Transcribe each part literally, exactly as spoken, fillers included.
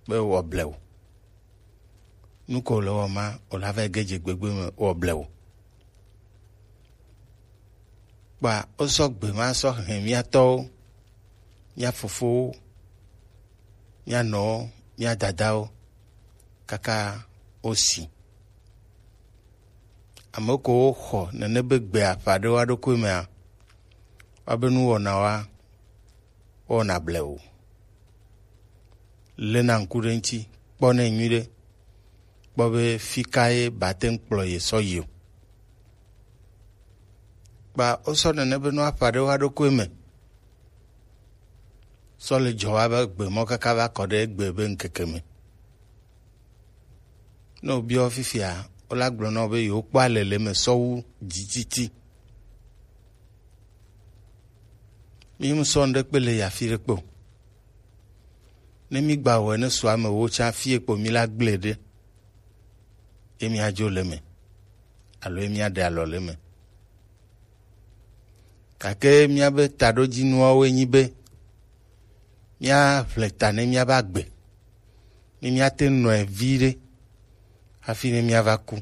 be wɔ blewu. Nu ko le wɔ ma, o la va ge dze gbegbe me wɔ blewu. Kpa o sɔ gbe ma sɔ hɛn mía tɔwo, mía fofowo, mía nɔwo, mía dadawo kaka o si. Ame ko wo xɔ nene be gbe afa ɖe wa ɖokui mea, wa be nu wɔna wa, wɔna blewu. Lena ŋku ɖe ŋuti, kpɔ nɛ nyuiɖe, kpɔ be fi ka ye ba te ŋu kplɔ ye sɔ yi o. Kpa wo sɔ nene be nu afa ɖe wa ɖokui me. Sɔ le dzɔ wa be gbe mɔ kaka va kɔ ɖe egbe be ŋkeke me. Ne wòbiɔ fifia, wola gblɔ na wò be yewokpɔ alele me sɔ wu dzitsitsi. Mí mu sɔ ŋɖe kpe le yi afi ɖe kpe o. Ne mí gba wɔe ne su ame wo tsã fie kpo mí la gblẽ ɖe, ye mía dzo le eme, alo ye mía ɖe alɔ le eme. Gake míabe taɖodzinuawoe nyi be míaʋle ta ne míabe agbe, ne míate ŋu nɔe viɖe hafi ne míava ku.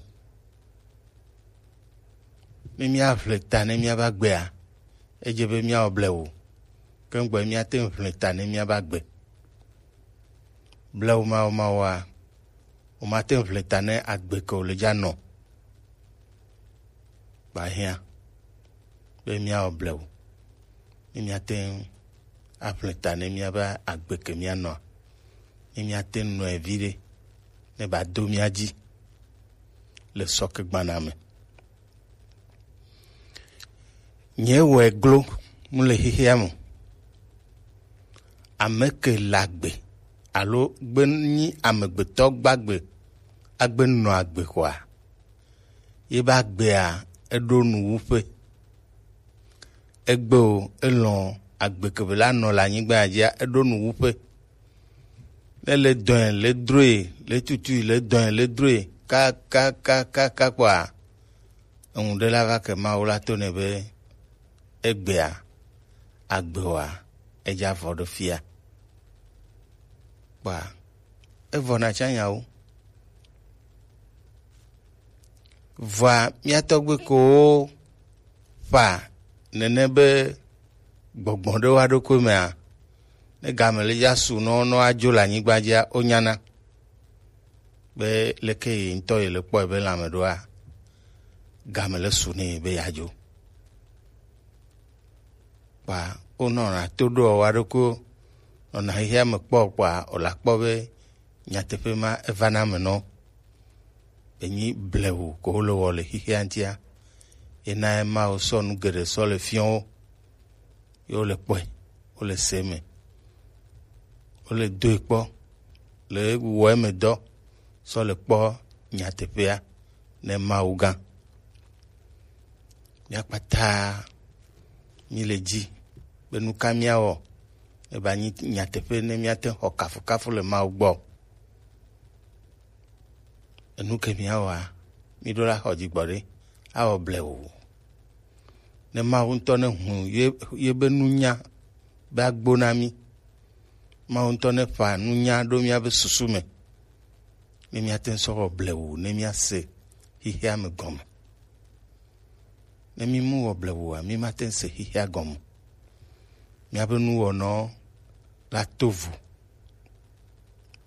Ne míaʋle ta ne míabe agbea, edze be míawɔ blewu. Ke ŋgbɔ míate ŋu ʋle ta ne míabe agbe. Blewu mawo mawoa, womate ŋu ʋle ta ne agbe ke wòle dza nɔ. Gba hiã be míawɔ blewu, ne míate ŋu aʋle ta ne míabe agbe ke míanɔa, ne míate ŋu nɔe viɖe, ne ba do mía dzi le sɔke gbana me. Nye wɔe glo mu le xexea me. Ame ke le agbe alo gbe nyi amegbetɔ gbagbe agbe nɔ agbe xɔa, ye be agbea eɖo nuwuƒe. Egbe o, elɔ̃ agbe ke be la nɔ le anyigba dzia, eɖo nuwuƒe. Ne le dɔe, le droe, le tutui, le dɔe, le droe, kakakakaka kpɔa, eŋu ɖe la va ke Mawu la to nɛ be egbea, agbewoa, edza vɔ ɖe fia. Kpɔa, evɔ na tsã nyawo. Vɔa mía tɔgbe kowo ƒa nene be gbɔgbɔ ɖe wa ɖokui mea, ne game le ya su nɔ nɔ adzo le anyigba dzia, wonyana be leke ye ŋutɔ ye le kpɔe be lãme ɖoa, game le su nɛ be yeadzo. Kpa wonɔna to ɖoa wa ɖokuiwo, nɔna xexea me kpɔ kpɔa, wòla kpɔ be nyateƒe ma eva na ame nɔ. Enyi blewu ko wole wɔ le xexea ŋutia. Ena ema wosɔ nu geɖe sɔ le fiɔ wo. Ye wole kpɔe, wole se me, wole doe kpɔ, le wɔ eme dɔ sɔ le kpɔ nyateƒea ne Mawu gã. Mía kpata mí le dzi be nu ka míawɔ ne ba nyi nyateƒe ne míate xɔ kafukafu le Mawu gbɔ. Enu ke míawɔa, mí ɖo la xɔ dzigbɔ ɖe, awɔ blewu. Ne Mawu ŋutɔ ne hu ye, ye be nunya be agbo na mí. Mawu ŋutɔ ne ƒa nunya ɖo míabe susu me, ne míate ŋu sɔ wɔ blewu, ne míase xexea me gɔme. Ne mí mu wɔ blewua, mí mate ŋu se xexea gɔme. Míabe nuwɔnɔ la to vo.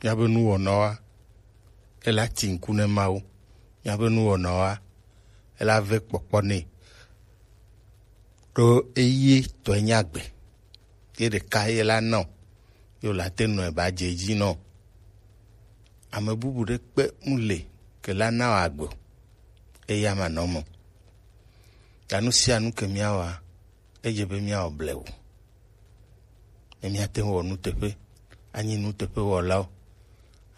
Míabe nuwɔnɔa, ela ti ŋku ne Mawu. Míabe nuwɔnɔa, ela ve kpɔkpɔ nɛ. Ɖo eye tɔe nye agbe. Ye ɖeka ye la nɔ, ye wòle ate nɔe ba dze edzi nɔ. Ame bubu ɖe kpe mu le ke la na wò agbe o, eya ma nɔ me. Ta nu sia nu ke míawɔa, edze be míawɔ blewu. Ne míate ŋu wɔ nuteƒe, anyi nuteƒewɔlawo,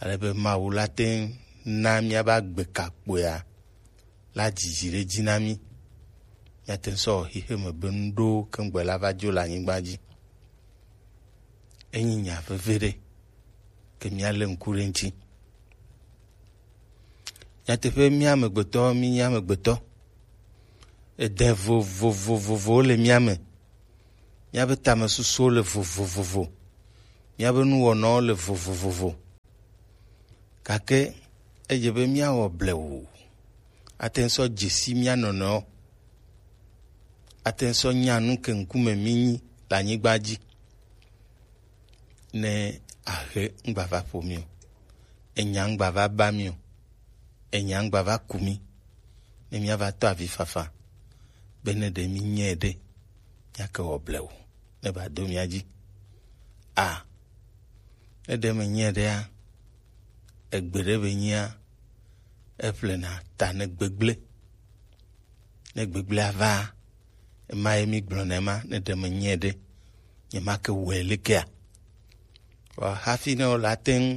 ale be Mawu la te ŋu na míabe agbe kakpoea la dzidzi ɖe edzi na mí. Míate ŋu sɔ wɔ xexeme be nuɖowo keŋgbe la va dzo le anyigba dzi. Enyi nya veve ɖe, ke míalé ŋku ɖe eŋuti. Nyateƒe, mía amegbetɔwo, mínye amegbetɔ. Ede vovovovovowo le mía me. Míabe tamesusuwo le vovovovo. Míabe nuwɔnawo le vovovovo. Gake edze be míawɔ blewu, ate ŋu sɔ dzesi mía nɔnɔewo, ate ŋu sɔ nya nu ke ŋkume mínyi le anyigba dzi. Ne ahe ŋgbava ƒo mí o, enya ŋgbava ba mí o, enya ŋgbava ku mí, ne míava tɔ avi fafa be ne ɖe mínyae ɖe, míake wɔ blewu ne ba do mía dzi. A, ne ɖe menyɛ ɖea, egbe ɖe be nyia, eƒlena ta ne gbegblẽ. Ne gbegblẽa va, ema ye mi gblɔna ema, ne ɖe menyɛ ɖe, nyemake wɔe lekea? Vɔ hafi ne wòle ate ŋu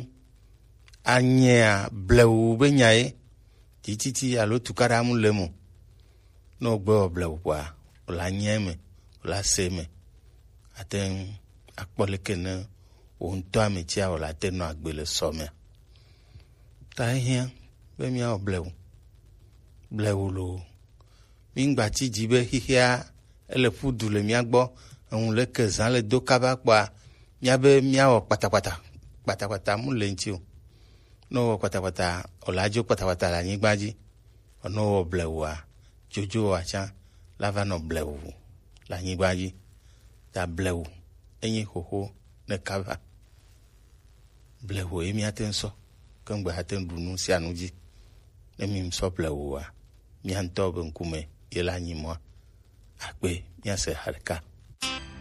anyea blewu be nya ye, tititi alo tukaɖa mu le mo. Ne wògbe wɔ blewu kpɔa, wòle anya eme, wòle ase eme. Ate ŋu akpɔ leke ne wò ŋutɔ ame tsia wòle ate nɔ agbe le sɔ mea. Ta ehiã be míawɔ blewu. Blewu loo. Míŋgba ti dzi be xixea ele ƒu du le mía gbɔ, eŋu leke zã le do kaba kpɔa, míabe míawɔ kpatakpata. Kpatakpata mu le ŋuti o. Ne wowɔ kpatakpata, wòle adzo kpatakpata le anyigba dzi. Vɔ ne wowɔ blewua, dzodzowɔa tsã la va nɔ blewu le anyigba dzi. Ta blewu enyi xoxo ne kaba. Blewu ye míate ŋu sɔ keŋgbe ate ŋu ɖu nu sia nu dzi. Ne mi sɔ blewua, mía ŋutɔ be ŋkume ye la nyi mɔa. Akpe, míase ha ɖeka.